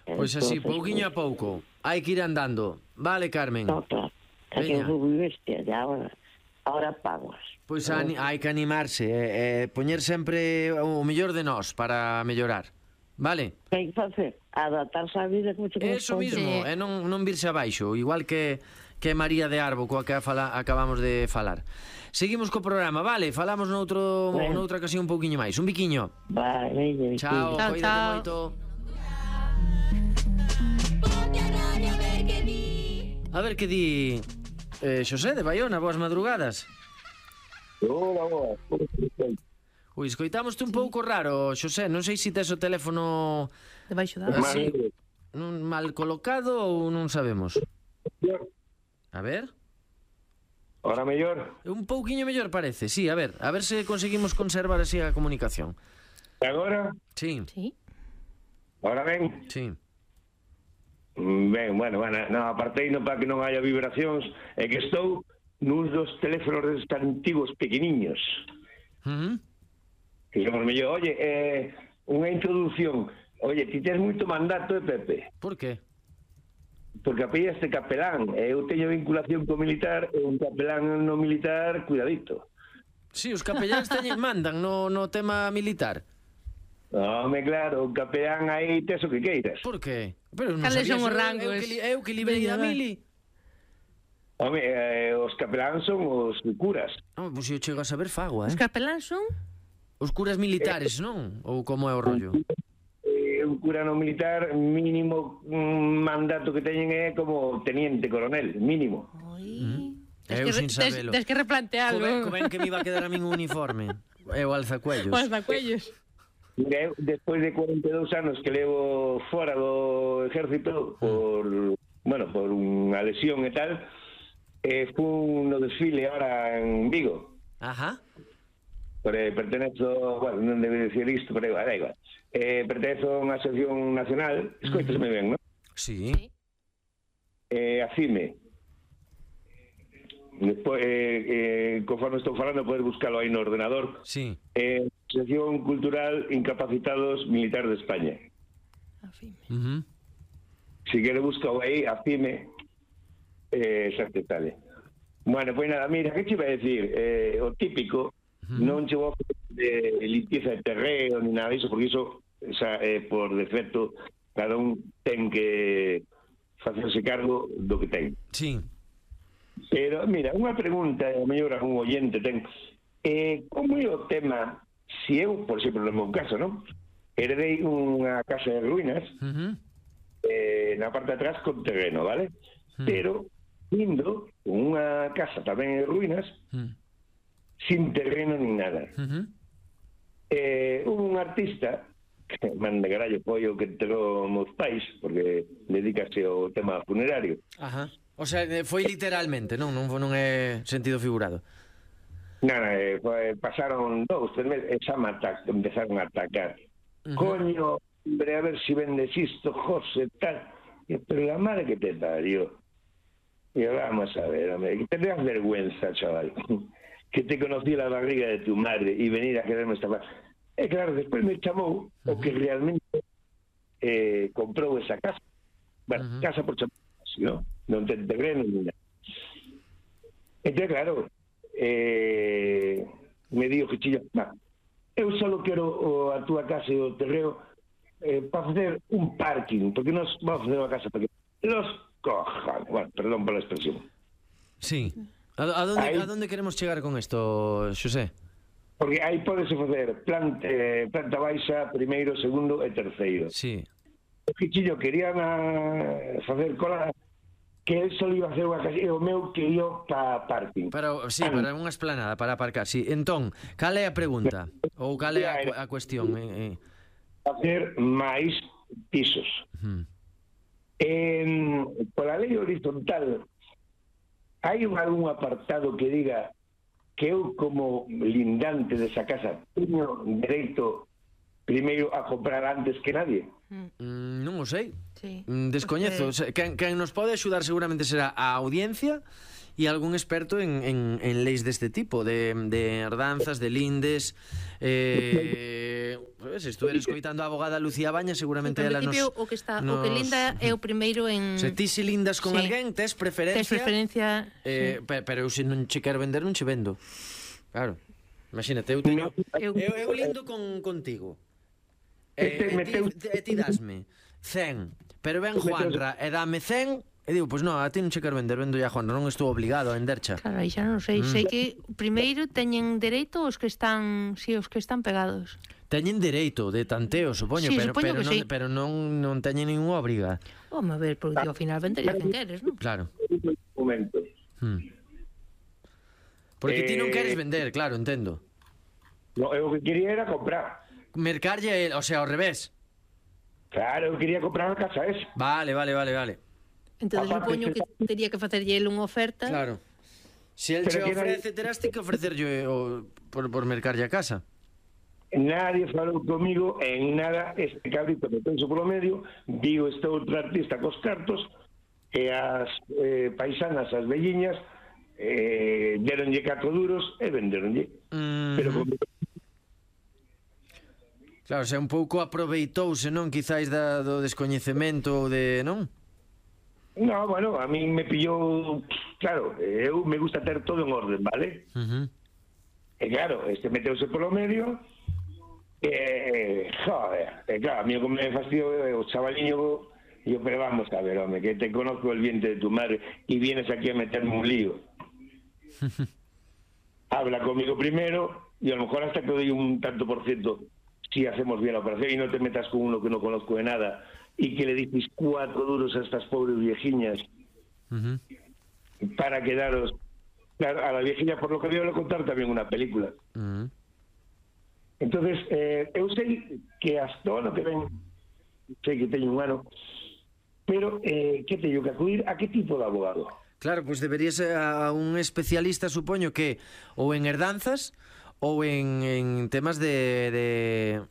Pois así, pouquiño a pouco. Hai que ir andando. Vale, Carmen? No, claro. É que eu fui bestia, e agora, agora pagas. Pois hai que animarse, e poñer sempre o mellor de nós para mellorar. Vale? Que hai que facer? Adaptarse á vida como che corresponde. Eso mismo, e non, non virse abaixo, igual que que María de Arbo, coa que fala, acabamos de falar. Seguimos co programa, vale? Falamos noutro, bueno. noutra ocasión un pouquiño máis. Un biquiño. Vale, vale. Chao, chao, cuídate moito. A ver que di eh, Xosé de Baiona, boas madrugadas. Hola, boas. Ui, escoitámoste un pouco raro, Xosé. Non sei se tes o teléfono debaixo da así, non mal colocado ou non sabemos. A ver. Ahora mellor? Un pouquiño mellor parece, sí, a ver. A ver se conseguimos conservar así a comunicación. Agora? Sí. Sí. Ahora ben? Sí. Ben, bueno, bueno, no, apartei non para que non haya vibracións, é que estou nuns dos teléfonos destes antigos pequeniños. Uh -huh. Que somos mellor, oye, eh, unha introducción. Oye, ti tens moito mandato, eh, Pepe? Por qué? Porque apellidaste capelán, e eu teño vinculación co militar, e un capelán no militar, cuidadito. Sí, os capelláns teñen, mandan no, no tema militar. Home, claro, o capelán aí tes o que queiras. Por qué? Pero non Cales sabía, son os eu, rangos? eu, que, eu que librei da mili. Home, eh, os capelán son os curas. Oh, pois eu chego a saber fago, eh? Os capelán son? Os curas militares, non? Ou como é o rollo? Eh, un cura no militar, mínimo un mandato que teñen é como teniente coronel, mínimo. Oi. Mm. Eu sin sabelo. Tens que replantealo. Co ben que me iba a quedar a min un uniforme. É o alzacuellos. O alzacuellos. Mira, eu, despois de cuarenta e dous anos que levo fora do exército por, bueno, por unha lesión e tal, eh, fun no desfile ahora en Vigo. Ajá. Pero pertenezo, bueno, non debe decir isto, pero igual, da igual. Eh, pertenezo a unha asociación nacional, escoitasme ben, non? Sí. Eh, a CIME. Despois, eh, eh, conforme estou falando, podes buscalo aí no ordenador. Sí. Eh, Asociación Cultural Incapacitados Militares de España. A FIME. Uh -huh. Si quere buscao aí, a FIME, eh, xa te sale. Bueno, pois nada, mira, que te iba a decir? Eh, o típico, uh -huh. non che vou de limpieza de terreo ni nada disso, porque iso, xa, eh, por defecto, cada un ten que facerse cargo do que ten. Sí. Pero, mira, unha pregunta, a mellor algún oyente ten, eh, como é o tema, se eu, por exemplo, no meu caso, non? Heredei unha casa de ruínas, uh -huh. eh, na parte de atrás con terreno, vale? Uh -huh. Pero, indo con unha casa tamén de ruínas, uh -huh. sin terreno ni nada. Uh -huh. eh, un artista, que manda carallo pollo que enterou meus pais, porque dedícase ao tema funerario. Ajá. O sea, foi literalmente, non? Non, non é sentido figurado. Non, eh, pasaron dous, tres meses, e xa me empezaron a atacar. Uh -huh. Coño, hombre, a ver si vendes isto, José, tal. E, pero la madre que te parió. Y vamos a ver, hombre, que te das vergüenza, chaval. Que te conocí la barriga de tu madre y venir a quererme esta parte. E claro, despois me chamou uh -huh. o que realmente eh, comprou esa casa. Bueno, uh -huh. casa por chamar, ¿no? Non ten terreno ni nada. Entón, claro, eh, me digo que chilla, nah, eu só quero o, a túa casa e o terreo eh, para facer un parking, porque nos vamos a facer unha casa para que los cojan, bueno, perdón por la expresión. Sí. A, a, donde, ahí, a donde queremos chegar con isto, Xosé? Porque aí podese facer planta, eh, planta baixa, primeiro, segundo e terceiro. Sí. O Quichillo querían a facer cola que él só iba a hacer unha casa e o meu que iba para parking. Para, sí, ah, para unha esplanada, para aparcar, sí. Entón, cal é a pregunta? Ou cal é a, a cuestión? Eh, eh. Facer máis pisos. Uh -huh. En, por a lei horizontal, hai algún apartado que diga que eu como lindante desa casa teño dereito primeiro a comprar antes que nadie? Mm, non o sei. Sí. Mm, descoñezo. Okay. Quen, quen nos pode axudar seguramente será a audiencia e algún experto en, en, en leis deste tipo, de, de herdanzas, de lindes. Eh, se estuveres escoitando a abogada Lucía Baña, seguramente en ela nos... principio, o que está, nos... o que linda é o primeiro en... Se ti se lindas con sí. alguén, tes preferencia... Tes preferencia, eh, sí. pe, Pero eu se non che quero vender, non che vendo. Claro. Imagínate, eu teño... Eu, eu lindo con, contigo. E eh, ti, ti dasme cen, pero ven Juanra e dame cen, e digo, pois pues non, a ti non che quero vender, vendo a Juanra, non estou obligado a vendercha. Claro, aí xa non sei, mm. sei que primeiro teñen dereito os que están, si, os que están pegados. Teñen dereito de tanteo, supoño, sí, pero, supoño pero, non, sí. pero non, non teñen ninguna obriga. Home, a ver, porque ao final vendería quen queres, non? Claro. Un momento. Hmm. Porque eh... ti non queres vender, claro, entendo. No, eu que quería era comprar. Mercarlle, o sea, ao revés. Claro, eu quería comprar a casa esa. Vale, vale, vale, vale. Entón, supoño que tería que facerlle ele unha oferta. Claro. Se el che ofrece, terás ti que ofrecerlle o, por, por mercarlle a casa. Nadie falou comigo en nada. Este cabrito que penso polo medio, digo este outro artista cos cartos, e as eh, paisanas, as velliñas, eh, deronlle catro duros e venderonlle. Mm-hmm. Pero como... Claro, se un pouco aproveitouse, non? Quizáis da, do descoñecemento ou de, non? No, bueno, a mí me pillou... Claro, eu me gusta ter todo en orden, vale? Uh-huh. E claro, este meteuse polo medio e... Joder, e claro, a mí o que me fastidio o chavaliño... Yo, pero vamos a ver, home, que te conozco el vientre de tu madre y vienes aquí a meterme un lío. Habla conmigo primero y a lo mejor hasta te doy un tanto por ciento si hacemos bien la operación y no te metas con uno que no conozco de nada y que le dices cuatro duros a estas pobres viejiñas uh-huh. para quedaros... Claro, a la viejilla, por lo que voy a contar, también una película. Uh-huh. Entonces, eh, eu sei que hasta o ano que ven, sei que teño un ano, pero eh, que teño que acudir a que tipo de abogado? Claro, pois pues deberías a un especialista, supoño que ou en herdanzas ou en, en temas de, de,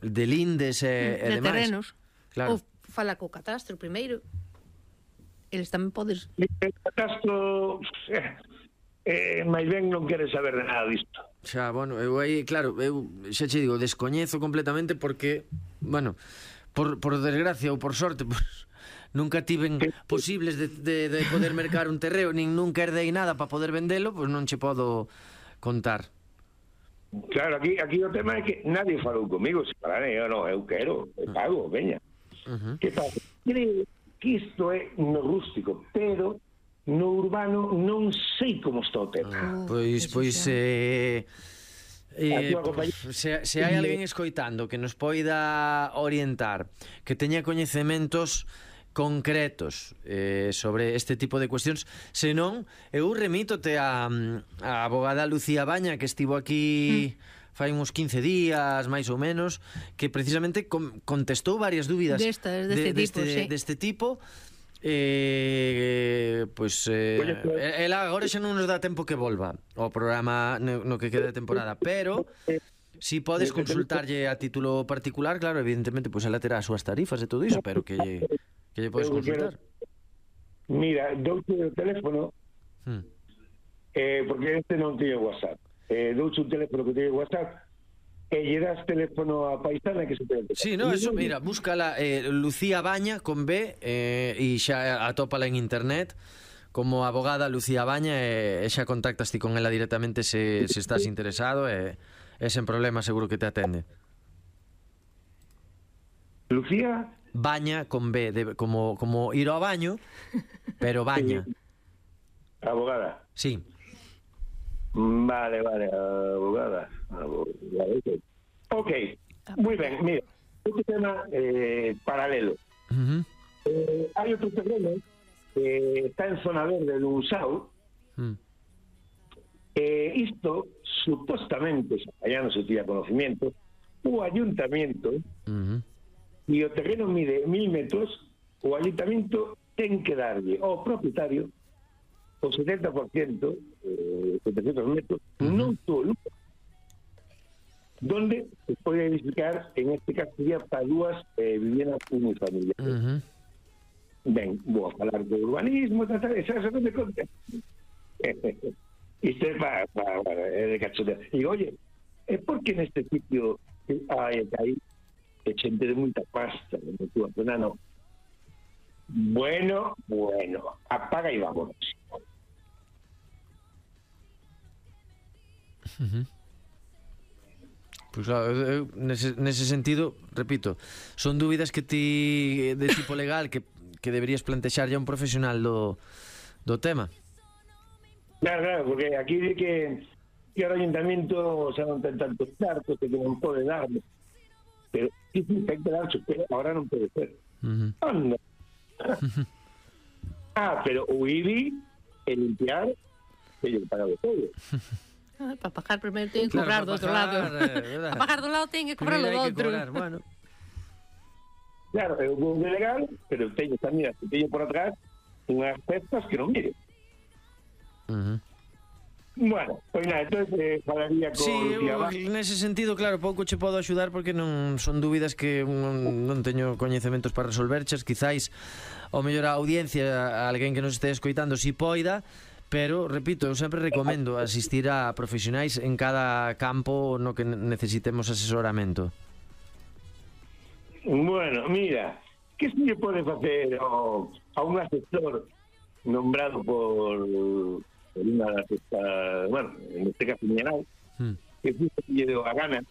de lindes e, e de demais. terrenos. Claro. Ou fala co catastro primeiro. Eles tamén podes... El catastro... Eh, eh, máis ben non quere saber de nada disto. Xa, bueno, eu aí, claro, eu xa che digo, descoñezo completamente porque, bueno, por, por desgracia ou por sorte, pues, nunca tiven posibles de, de, de poder mercar un terreo, nin nunca herdei nada para poder vendelo, pois pues non che podo contar. Claro, aquí aquí o tema é que nadie falou comigo, se pararé, eu non, eu quero, eu pago, veña. Uh-huh. Que pasa? Creo que isto é no rústico, pero no urbano non sei como está o tema. Uh, pois, pois, eh... Eh, se, se hai alguén escoitando que nos poida orientar, que teña coñecementos concretos eh, sobre este tipo de cuestións, senón eu remítote a, a abogada Lucía Baña, que estivo aquí mm. fai uns quince días, máis ou menos, que precisamente com, contestou varias dúbidas Destas, deste, de, deste, tipo, sí. deste tipo. Eh, pois eh, ela agora xa non nos dá tempo que volva ao programa no, no que quede de temporada, pero si podes consultarlle a título particular, claro, evidentemente, pois ela terá as súas tarifas e todo iso, pero que lle, que lle podes consultar. Mira, douche o teléfono hmm. eh, porque este non tiñe WhatsApp, eh, douche un teléfono que tiñe WhatsApp e lle das teléfono a paisana que se te... Sí, no, eso, mira, búscala eh, Lucía Baña con B eh, e xa atópala en internet como abogada Lucía Baña e, e xa contactas ti con ela directamente se, se estás interesado e, e sen problema seguro que te atende. Lucía Baña con B, de, como, como ir ao baño, pero Baña. Abogada. Sí. Vale, vale, abogada. abogada. Ok, muy bien, mira, este tema eh, paralelo. Uh-huh. Eh, hay otro terreno que está en zona verde de Usao. Uh-huh. Eh, isto, supostamente, allá no se tiene conocimiento, o ayuntamiento, uh-huh. y o terreno mide mil metros, o ayuntamiento ten que darlle ao propietario o setenta por ciento, eh, setecientos metros, uh-huh. non solo, donde se pode edificar, en este caso sería para dúas eh, viviendas unifamiliares. Uh-huh. Ben, vou a falar de urbanismo, tal, tal, esa, esa, esa, Isto é para, para, para é de cachondeo. Digo, oye, é porque neste sitio hai aí é xente de moita pasta, de túa zona, non. Bueno, bueno, apaga e vámonos. Uh-huh. Pois claro, eu, nese, nese sentido, repito, son dúbidas que ti de tipo legal que, que deberías plantexar a un profesional do, do tema. Claro, claro, porque aquí di que, que o ayuntamiento xa non ten tantos cartos que non pode darme, pero sí, sí, ten que darse, pero ahora non pode ser. Uh-huh. Anda. Ah, pero o I B I e limpiar teño que pagar de todo. Ah, para pagar primeiro teñen que cobrar claro, do outro lado. Eh, Para pagar do lado teñen que cobrar do outro. Bueno. Claro, é un pouco legal, pero teño tamén, se teño por atrás unhas cestas que non mire. Uh-huh. Bueno, pois nada, entón eh, falaría con Sí, Lucía eu, nese sentido, claro, pouco che podo axudar porque non son dúbidas que non, non teño coñecementos para resolverches. Quizáis ao mellor a audiencia, a alguén que nos este escoitando si poida, pero, repito, eu sempre recomendo asistir a profesionais en cada campo no que necesitemos asesoramento. Bueno, mira, que se lle pode facer ao, a un asesor nombrado por, por unha das estas, bueno, en este caso Miñanal, hmm. que fixo que lle deu a gana,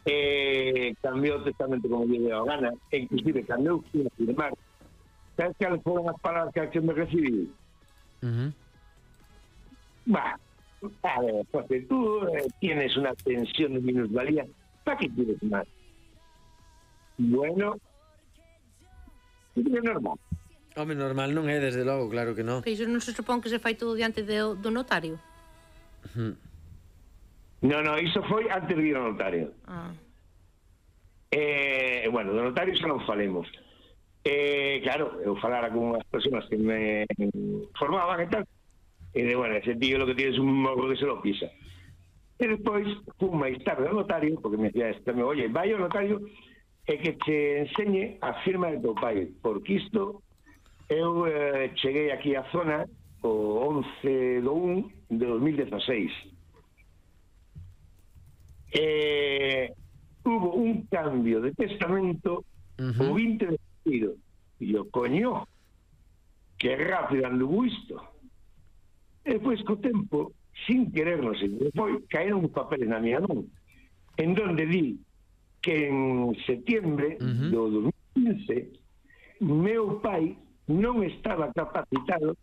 eh, cambiou o testamento como lle deu a gana, e inclusive cambiou sin firmar. Sabes que foron as palabras que me recibí? Uh-huh. Bah, a ver, porque tú eh, tienes una pensión de minusvalía, ¿para qué quieres más? Bueno, é normal. Home, normal non é, desde logo, claro que non. Iso non se supón que se fai todo diante do, do notario? Uh-huh. No, no, iso foi antes de ir ao notario. Ah. Eh, bueno, do notario xa non falemos. Eh, claro, eu falara con unhas persoas que me formaban e tal, e de, bueno, ese tío lo que tiene es un morro que se lo pisa. E despois, fun máis tarde ao notario, porque me decía este, oye, vai ao notario e que te enseñe a firma de teu pai, porque isto, eu eh, cheguei aquí á zona o once do un de dos mil dieciséis. Eh, hubo un cambio de testamento uh-huh. o vinte de xaneiro. E yo, coño, que rápido anduvo isto. E depois, co tempo, sin querer, non sei, foi, caeron uns papeles na miña mão, en donde di que en setembro uh-huh. do dos mil quince meu pai non estaba capacitado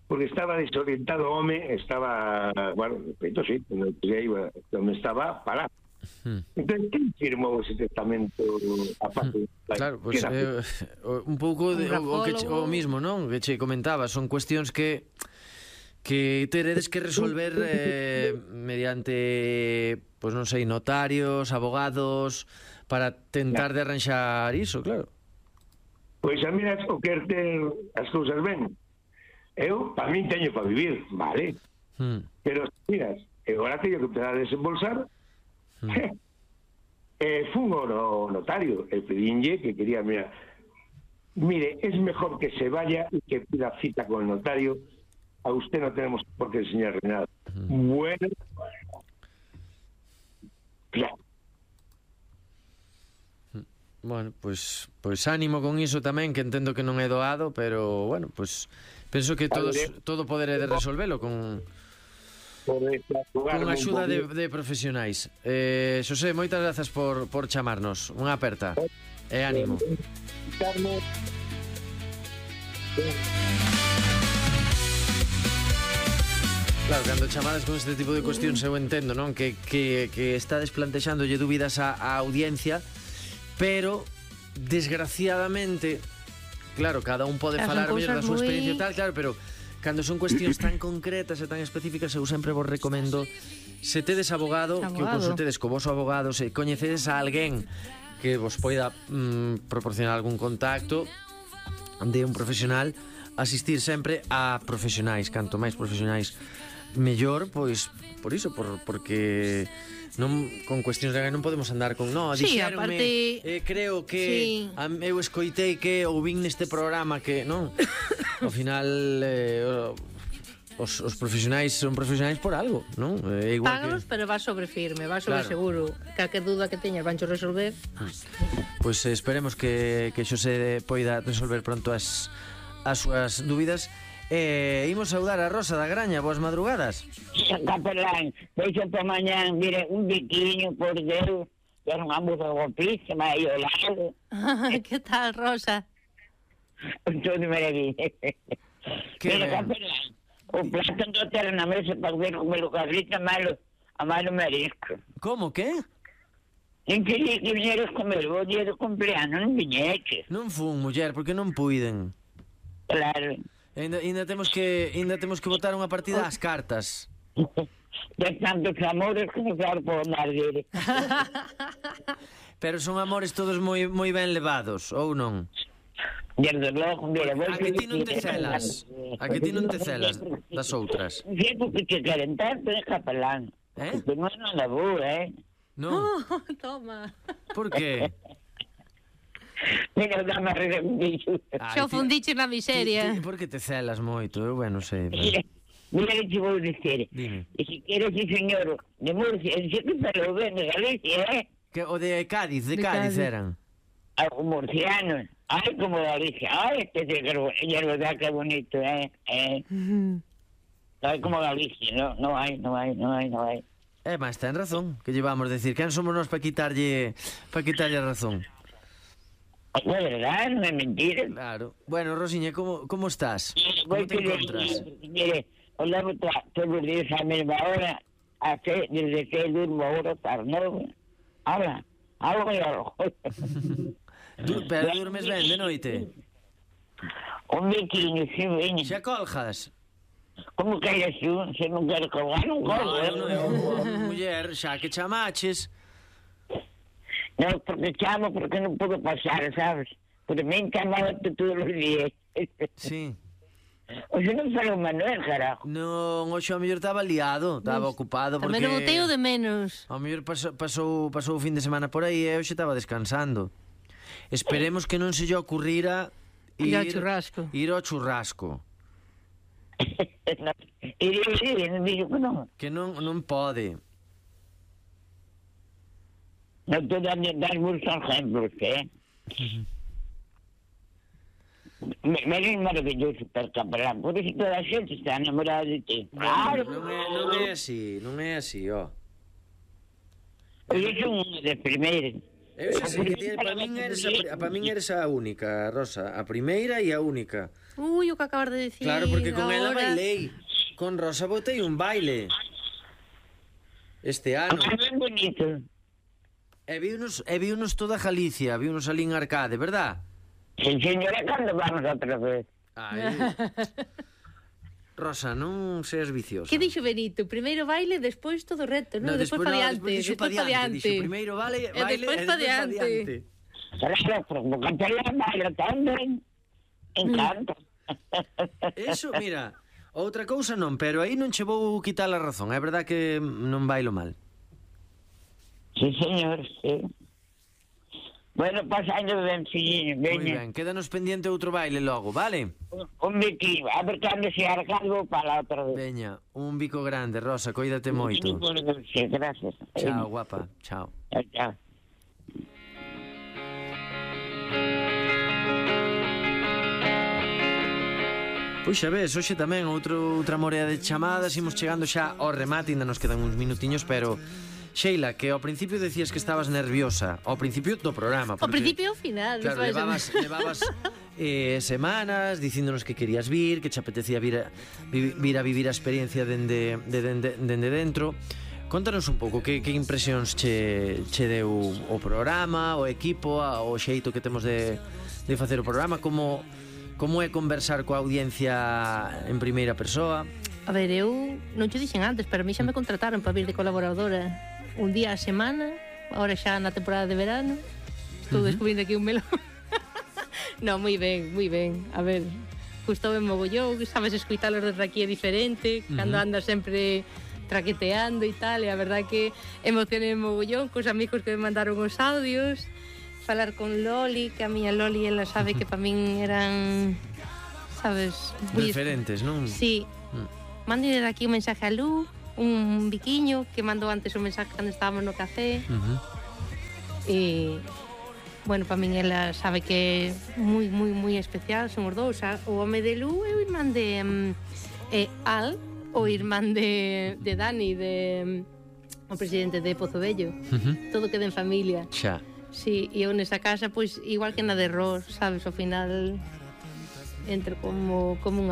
porque estaba desorientado, home, estaba, bueno, feito sí, non estaba parado. Hmm. Entón, quen firmou ese testamento aparte? Hmm. Claro, pues, eh, un pouco de, o, o, que, o mismo, non? Que che comentaba, son cuestións que que teredes que resolver eh, mediante, pois pues, non sei, notarios, abogados, para tentar de arranxar iso, claro. Pois a mí o quer ter as cousas ben. Eu, para min, teño para vivir, vale? Hmm. Pero, miras, eu agora teño que empezar a desembolsar. Hmm. eh, fun ao notario e pedinlle que quería, mira, mire, es mejor que se vaya y que pida cita con el notario. A usted no tenemos por qué enseñarle nada. Hmm. Bueno, claro. Bueno, pois pues, pues ánimo con iso tamén, que entendo que non é doado, pero bueno, pois pues, penso que todos todo poderé de resolvelo con con axuda de, de profesionais. Eh, Xosé, moitas grazas por, por chamarnos. Unha aperta. E ánimo. Claro, cando chamadas con este tipo de cuestións eu entendo, non? Que, que, que estades plantexándolle dúbidas á, á audiencia, pero desgraciadamente, claro, cada un pode falar mellor da súa experiencia e tal, claro, pero cando son cuestións tan concretas e tan específicas, eu sempre vos recomendo, se tedes abogado, abogado. que o consultedes co voso abogado, se coñecedes a alguén que vos poida mm, proporcionar algún contacto de un profesional, asistir sempre a profesionais, canto máis profesionais mellor, pois por iso, por, porque non, con cuestións de non podemos andar con no, sí, dixeronme, aparte... eh, creo que sí. a, eu escoitei que ou vin neste programa que non ao final eh, os, os profesionais son profesionais por algo, non? É igual Págalos, que... pero va sobre firme, va sobre Claro. seguro. Calquer duda que teñas vancho resolver. Pois eh, esperemos que, que Xosé poida resolver pronto as, as súas dúbidas. Eh, imos saudar a Rosa da Graña. Boas madrugadas. Capelán, deixo para mañán, mire, un biquiño, por Deus, que era unha moza guapísima e ao lado. Que tal, Rosa? Todo maravilla. Que Mire, ben. capelán, o plato non ter na mesa para ver como lo cabrita malo, a malo marisco. Como, que? En que día que viñeras comer o día do cumpleaños, non viñeches. Non fun, muller, porque non puiden. Claro. Ainda, ainda temos que ainda temos que botar unha partida ás cartas. De tantos amores que non claro por andar dele. Pero son amores todos moi moi ben levados, ou non? Desde logo, mira, vou A que ti non te celas? A que ti non te celas das outras? Sí, porque te queren tanto, é capelán. Eh? Porque non é nada bo, eh? Non? Oh, toma. Por que? Mira, dame a rir un bicho. Xa o fundiche na miseria. Ti, ti, por que te celas moito? Eu, bueno, sei. Pero... Mira, mira que te vou dizer. Dime. E se queres, sí, señor, de Murcia, dice que falou ben de Galicia, eh? Que o de Cádiz, de, De Cádiz, Cádiz. eran. Algo murciano. Ay, como Galicia. Ay, este es el verdad que bonito, eh? eh. Ay, como Galicia, no, no hay, no hay, no hay, no hay. Eh, mas ten razón, que llevamos decir, quen somos nós para quitarlle para quitarlle a razón? Es verdad, no es mentira. Claro. Bueno, Rosiña, como como estás? Como Voy te encontras? Mire, os levo to- todos os días a mesma hora, a que, desde que durmo ahora hasta as nove. Ahora, algo e algo. Tú, pero durmes ben de noite? Un biquiño, si veño. Xa colgas? Como que eres tú? Se non quero colgar, non colgo. No, eh? non é un muller, xa que chamaches. No, porque chamo, porque non podo pasar, sabes? Por mí chamaba todos os días. Sí. O sea, non falou Manuel, carajo. Non, hoxe ao mellor estaba liado, estaba ocupado porque... Tamén o boteo de menos. Ao mellor pasou, pasou, pasou o fin de semana por aí e hoxe estaba descansando. Esperemos que non se lle ocurrira Ir ao churrasco. Ir ao churrasco. No, iría, iría, non dixo que non. Que non, non pode. Non te dan dar muchos ejemplos, ¿eh? Me, me es maravilloso per capelán, por eso toda a xente está enamorada de ti. Claro, Non é, non é así, non é así, ó. eu son unha das primeiras. Eu xa sei que ti, para min eres a, pri- para min eres a única, Rosa, a primeira e a única. Ui, o que acabas de decir. Claro, porque con ela ahora. bailei. Con Rosa botei un baile. Este ano. É ben bonito. E viunos, e viunos toda Galicia, viunos ali en Arcade, verdad? Sí, señora, cando vamos outra vez? Ai. Rosa, non seas viciosa. Que dixo Benito? Primeiro baile, despois todo o reto, non? No, despois despois pa no, diante, despois dixo pa despois pa diante, diante. dixo primeiro vale, E baile, despois e pa despois pa diante. diante. Claro, porque o capelán baila tamén. Encanta. Eso, mira, outra cousa non, pero aí non che vou quitar a razón. É verdad que non bailo mal. Sí, señor, sí. Bueno, pasando ben, filliño, Moi veña. ben, quédanos pendiente outro baile logo, vale? Un, un biquillo, a ver cando se arcalvo para la outra vez. Veña, un bico grande, Rosa, coídate moito. Sí, gracias. Chao, guapa, chao. Chao, chao. Pois xa ves, hoxe tamén outro, outra morea de chamadas. Imos chegando xa ao remate, ainda nos quedan uns minutiños, pero... Sheila, que ao principio decías que estabas nerviosa. Ao principio do programa. Ao principio ao final. Claro, despois- levabas, levabas eh, semanas dicíndonos que querías vir, que che apetecía vir a, vi- vir a vivir a experiencia dende, de, dende, dende dentro. Contanos un pouco que, que impresións che, che deu o programa, o equipo, a- o xeito que temos de, de facer o programa, como, como é conversar coa audiencia en primeira persoa. A ver, eu non te dixen antes, pero a mí xa me contrataron para vir de colaboradora un día a semana, ahora xa na temporada de verano. Estou descubrindo aquí un melón. No, moi ben, moi ben. A ver, gustou en mogollón, sabes escuitalos desde aquí é diferente, cando andas sempre traqueteando e tal, e a verdad que emocionei en mogollón cos amigos que me mandaron os audios, falar con Loli, que a miña Loli, ela sabe que para min eran sabes? Referentes, non? Sí. Mm. Mande de aquí un mensaje a Lu, un biquiño que mandou antes un mensaje cando estábamos no café. Uh-huh. E, bueno, para min ela sabe que é moi, moi, moi especial, son os dous. O home de Lu é o irmán de um, eh, Al, o irmán de, de Dani, de um, o presidente de Pozo Vello. Uh-huh. Todo queda en familia. Xa. Sí, e eu nesa casa, pois, igual que na de Ros, sabes, ao final entro como, como unha